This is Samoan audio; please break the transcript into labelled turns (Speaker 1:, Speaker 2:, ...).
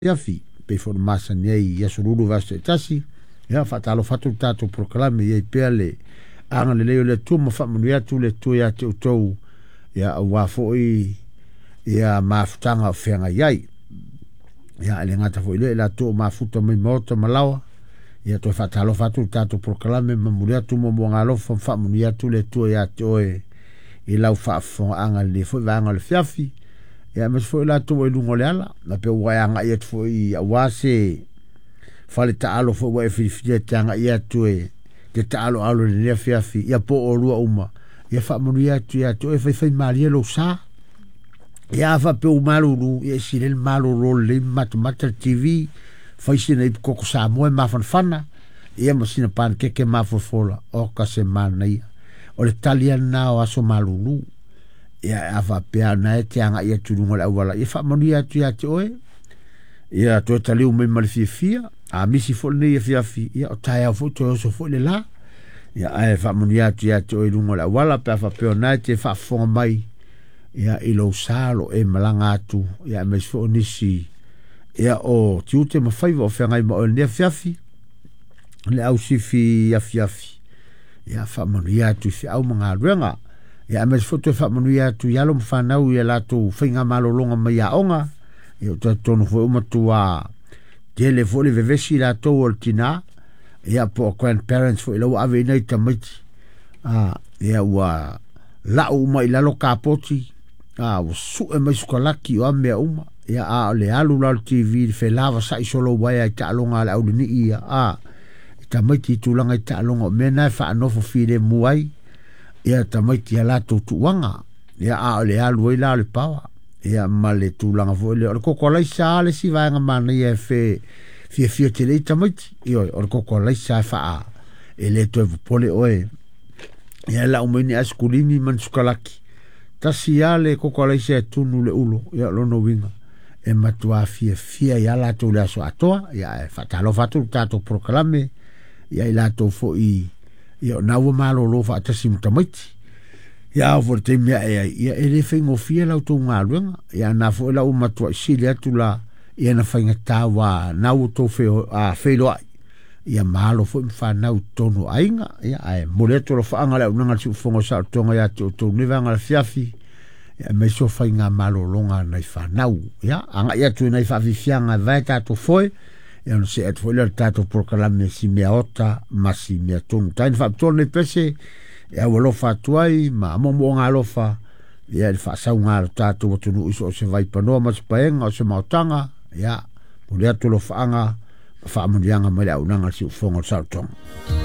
Speaker 1: Afiafi, pei foi ona masani ai i aso lulu vaiaso taitasi. Ia, faatalofa atu le tatou polokalame, i ai pea le agalelei o le Atua ma faamanuia atu le Atua ia te outou, ia aua foi ia mafutaga o feagai ai. Ia, e le gata foi i lea, i latou o mafuta mai maota ma laoa, ia toe faatalofa atu le tatou polokalame ma momoli atu muamuaga alofa ma faamanuia atu le Atua ia te oe i lau faafofogaaga i lenei foi vaega o le afiafi. Ia, aemaise foi latou ua i luga o le ala, na pe ua e agai atu foi aua se fale taalo foi ua e filifilia e te agai atu e te taaloalo i lenei afiafi, ia po o lua uma, ia faamanuia atu ia te oe, faifai malie lou sa. Ia, a faapea ua malulu, ia e sili ai le malolo lelei ma matamata le TV, fai sina ipu koko Samoa e mafanafana, ia ma sina panekeke mafofola, oka se manaia. O le tali lava lena o aso malulu. Ia, a faapea na e te agai atu i luga o le auala, ia faamanuia atu ia te oe, ia toe taliu mai ma le fiafia. A misi foi lenei afiafi, ia o taeao foi toe oso foi le la. Ia, ae faamanuia atu ia te oe i luga o le auala, pe a faapea o na e te faafofoga mai, ia, i lou sa o lo o e malaga atu, ia, aemaise foi o nisi, ia, o tiute ma faiva o feagai ma oe i lenei afiafi, le ausifi afiafi, ia faamanuia atu i feau ma galuega. Ia, aemaise foi toe faamanuia atu i alo ma fanau i a latou faigamalologa mai aoga. Ia, ou te talitonu foi ua matua tele foi le vevesi latou o le tina, ia, po o grandparents foi lau ave ina i tamaiti. Ia, ua lau uma i lalo kapoti, ua sue mai sukalaki o a mea uma. Ia, a o le alu la o le TV, le felavasai solo uaea i taaloga a le aulenii ia, i tamaiti i tulaga i taaloga, o mea na e faanofo filemu ai ia tamaiti ia latou tuuaga. Ia, a o le alu ai la o le paoa, ia, ma le tulaga foi lea o le koko alaisa lava le isi vaega manaia e fe fiafia tele ai tamaiti. Ioe, o le koko alaisa e faa e le toe popole oe, ia, e lau mai ni aisikulimi ma ni sukalaki, tasi lava le koko alaisa e tunu le ulo. Ia, o lona uiga e matua fiafia ia latou le aso atoa. Ia, ae faatalofa atu le tatou polokalame ia i latou foi, ia, o na ua malolo faatasi ma tamaiti. Ia, ao foi le taimi ae ai, ia, e le faigofie la outou galuega. Ia, na foi la ua matuai sili atu la ia na faigata ua na ua outou feiloai, ia ma alo foi ma fanau i totonu o aiga. Ia, ae momoli atu alofaaga le auaunaga a le Siufofoga o Saolotoga ia te outou nei vaega o le afiafi, ia, aemaise o faiga malologa a nai fanau. Ia, agai atu i nai faafiafiaga e vae tatou foe, ia, ona see atu foi lea o le tatou polokalame si mea ota ma si mea tonu. Taina faapitoa lenei pese e aualofa atu ai ma moomooga alofa, ia, i le faasauga a lo tatou atunuu i so o se vaipanoa ma se paega o se maotaga. Ia, momoli atu alofaaga ma faamanuiaga mai le auaunaga a le Siufofoga o le Saolotoga.